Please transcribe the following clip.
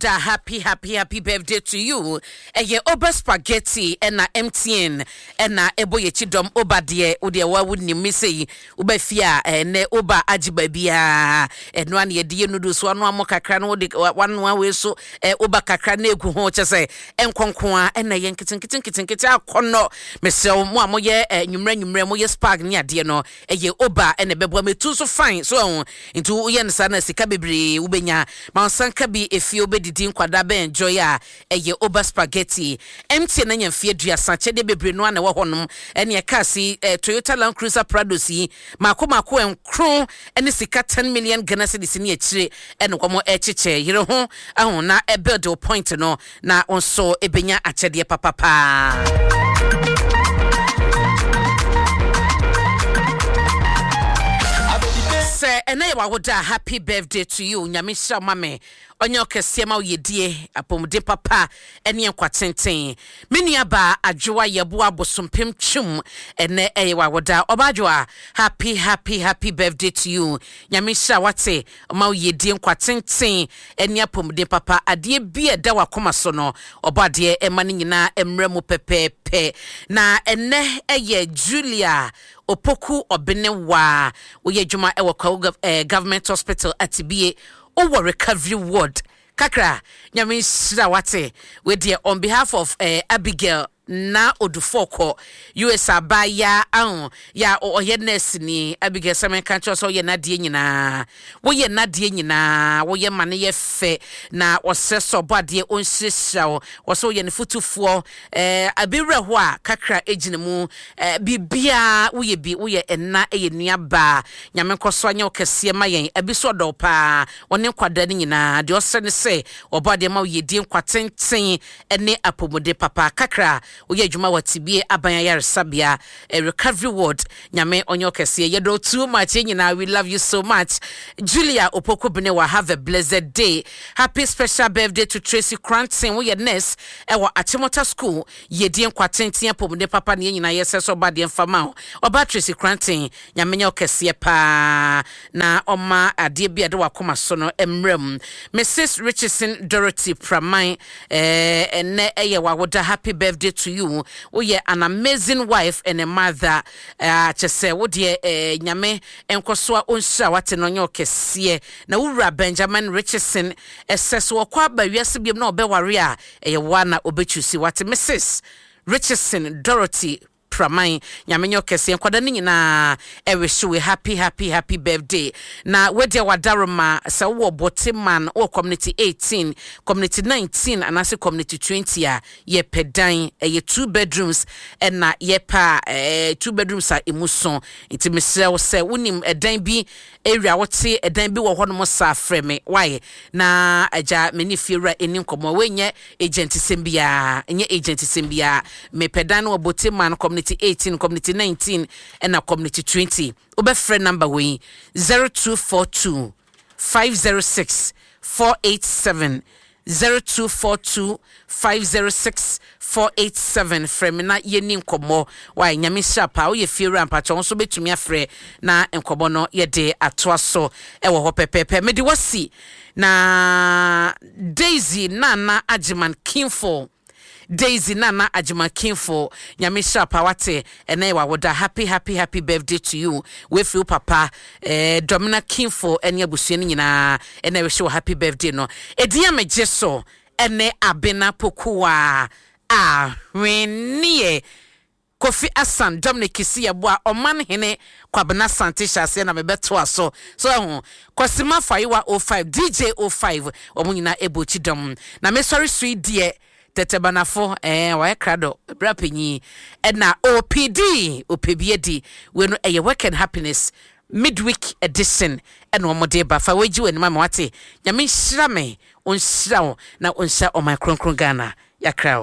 Da happy happy happy birthday to you. Ɛyɛ Oba Spaghetti ɛna MTN ɛna ɛbɔ yɛkyi dɔm. Oba deɛ wo deɛ wa wo nim me sɛ woba fie a, ɛnɛ Oba agye baabiaa. Ɛno a na yɛde yɛ noodles, wanoa mo kakra no, wode wanoa wei so Oba kakra na egu ho, kyɛ sɛ ɛnkɔnko a ɛna ɛyɛ nketenkete nketenkete akɔnnɔ. Mesrɛ wo, mo a moyɛ nwummerɛ nwummerɛ, moyɛ spag ne adeɛ no, ɛyɛ Oba ɛna ɛbɛboa ma ɛtu nso fine so ɛho. Nti woyɛ no saa na sika bebree wobɛnya ma wo nsa nka bi efie, wobɛdidi, nkwadaa bɛ enjoy a, ɛyɛ Oba Spaghetti. MTN anya mfeɛ 30, akyɛdeɛ bebree no ara na ɛwɔ hɔnom. Ɛneɛ cars yi, Toyota Land Cruiser Prados yi maako maako nkron ɛne sika 10 million Ghana cedis ne akyire ɛna wɔn ɛkyekyɛ. Yere ho ahu na ɛbuild wo point no na wo nso ɛbɛnya akyɛdeɛ papapaa. Sɛ ɛnɛ yɛ w'awoda a, happy birthday to you. Nyame nhyira wo ma me, ɔnyɛ ɔkɛseɛ ma wo, yɛdie apɔmuden papa ɛne nkwa tenten. Me nua baa Adwoa Yɛboa Bosompem Twum, ɛnɛ ɛyɛ w'awoda. Ɔba Adwoa, happy happy happy birthday to you. Nyame nhyira wate, ɔma wo yɛdie, nkwa tenten ɛne apɔmuden papa. Adeɛ bi a ɛda w'akoma so no, ɔbɔ adeɛ ɛma no nyinaa mmerɛ mu pɛpɛɛpɛ. Na ɛnɛ ɛyɛ Julia Opoku Ɔbenewa, woyɛ adwuma ɛwɔ Kwawu Government Hospital Atibie, wowɔ recovery ward kakra. Nyame nhyira wate. Wei deɛ on behalf of Abigail na Odufɔkɔ US abaayaa aho ya ɔyɛ nurse ni. Abigail, sɛ menka kyerɛ sɛ ɔyɛ n'adeɛ nyinaa, woyɛ n'adeɛ nyinaa, woyɛ ma no yɛ fɛ, na ɔsrɛ sɛ ɔbɔ adeɛ ɔnhyirahyira wo. Wɔsɛ woyɛ ne fotufoɔ, abi werɛ hɔ a kakra gyina mu, biribiaa woyɛ bi, woyɛ ɛna, ɛyɛ nuabaa. Nyame nkɔ so anyɛ wo kɛseɛ ma yɛn. Abi so ɔdɔ wo paa, ɔne nkwadaa no nyinaa. Deɛ ɔsrɛ ne sɛ ɔbɔ adeɛ ma wo yɛdie, nkwa tenten ne apɔmuden papa. Kakra woyɛ adwuma wɔ Tibie Aban Ayaresabea, recovery ward. Nyame ɔnyɛ ɔkɛseɛ. Yɛdɔ too much, yɛn nyinaa, we love you so much. Julia Opoku Benewa, have a blessed day. Happy special birthday to Tracy Cranton, woyɛ nurse ɛwɔ Achimota School. Yɛdie, nkwa tenten, apɔmuden papa ne yɛn nyinaa yɛsɛ sɛ ɔba adeɛ mfa ma wo. Ɔba Tracy Cranton, Nyame nyɛ ɔkɛseɛ paa na ɔma adeɛ bi a ɛde wakoma so no mmerɛ mu. Mrs Richardson Dorothy Praman, ɛnɛ ɛyɛ wawoda, happy birthday to you. Woyɛ an amazing wife and a mother. Kyɛ sɛ wo deɛ, Nyame nkɔ so a ɔnhyira wate no ɔnyɛ ɔkɛseɛ. Na wo wura Benjamin Richardson, ɛsɛ sɛ ɔkɔ aba wiase biom na ɔbɛware a, ɛyɛ woa na ɔbɛchusi wate. Mrs Richardson Dorothy Praman, Nyame nyɛ ɔkɛseɛ. Nkwadaa no nyinaa ɛwish we happy happy happy birthday. Na wedeɛ wadaroma, sɛ wowɔ Boteman, wowɔ community 18, community 19 anaasɛ community 20 a, yɛpɛ dan, ɛyɛ two bedrooms ɛna yɛpɛ a, two bedrooms a emu so. Nti mesrɛ wo, sɛ wonim ɛdan bi area, wote ɛdan bi wɔ hɔnom saa, frɛ me wae na agya me ne fiewura ɛni nkɔmmɔ. Wonyɛ agent sɛm biara, nyɛ agent sɛm biara. Mepɛ dan no wɔ Boteman community 18, community 19 ɛna community 20. Wobɛfrɛ number wei, 0242 506 487, 0242 506 487. Frɛ me na yɛni nkɔmmɔ wae. Nyame hyira paa. Woyɛ fiewura, mpakyɛ wo nso wobɛtumi afrɛ na nkɔmmɔ no yɛde atoa so ɛwɔ hɔ pɛpɛɛpɛ. Mede wasi na Daisy Nana Agyeman Kinfo, Daisy Nana Agyeman Kinfo, Nyame hyira paa wate. Ɛnɛ yɛ wawoda, happy happy happy birthday to you. Wefiri wo papa Dɔmina Kinfo ɛne abusua no nyinaa ɛna ɛwɛhyɛ wɔ happy birthday no. Ɛdin a megye so ɛne Abena Pokuwa Ahweneɛ. Kofi Asan Dominic Kisi Yeboah, Ɔman Hene Kwabena Asante hyɛ aseɛ na mebɛtoa so. So ɛho Kwasima Fayewa 05, DJ 05, wɔn nyinaa ɛbɔ akyi dɔm. Na mesɔre so yi deɛ, Tɛtɛbanafo wɔayɛ krado berɛ panyin ɛna OPD ɔpɛ bi adi. Wei no ɛyɛ Work and Happiness midweek edition ɛna wɔn de ba. Fa wei gye w'anim ama wate. Nyame nhyira me, ɔnhyira wo na ɔnhyira ɔman kronkron Ghana. Yɛakra o.